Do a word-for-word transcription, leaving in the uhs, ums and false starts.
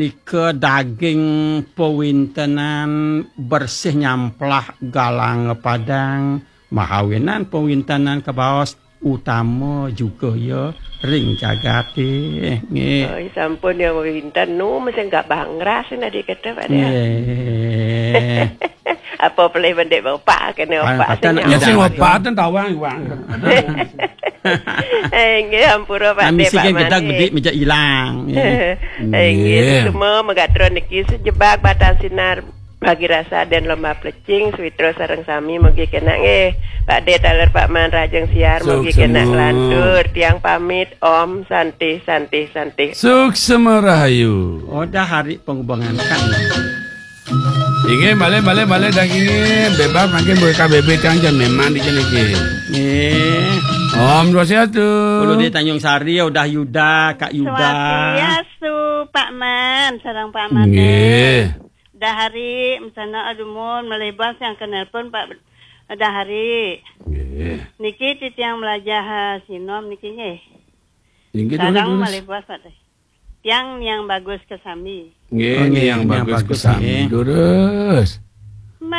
Nika daging pawintenan bersih nyamplah galang padang, mahawinan pawintenan kabaos utama juga ya ring jagate. Nggih. Oh, sampun ya, winten nu mesti nggak bangras nadi kata Pak Dé. Nggih. Apa pelih bendek bapak kene Pak, opak kata sing nak nyamar. Ya, sing opak ten tawang, Wang. Eh, nggih, ampura Pak Dé, misi Pak kan gedang Made. Bedik meja ilang. Nggih. Eh, nggih, nggih. Semua megatron niki sejebak batang sinar bagi rasa dan lomba plecing, switra sareng sami mugi kena nggih. Pak Dé taler Pak Man rajeng siar mugi kena nglantur. Tiang pamit, Om Santi, Santi, Santi. Suksema rahayu. Oh, dah hari pengubangan kan. Inggih, malih, malih, malih dah inggih. Bebas mangkin buka bebek kang jan memang di kene iki. Nggih. Om Swastiastu. Kulo di Tanjung Sari, udah Yuda, Kak Yuda. Swastiastu, Pak Man, sareng Pak Man. Nggih. Dahari, mesana adumun, malih bos yang ke nelpon Pak Dahari. Nggih. Niki titiang melajah, eh, sinom niki nggih. Inggih, sareng terus. Malih bos Pak Dé. Tiang yang bagus ke sami. Nggih, oh, nggih, yang bagus ke sami. Terus.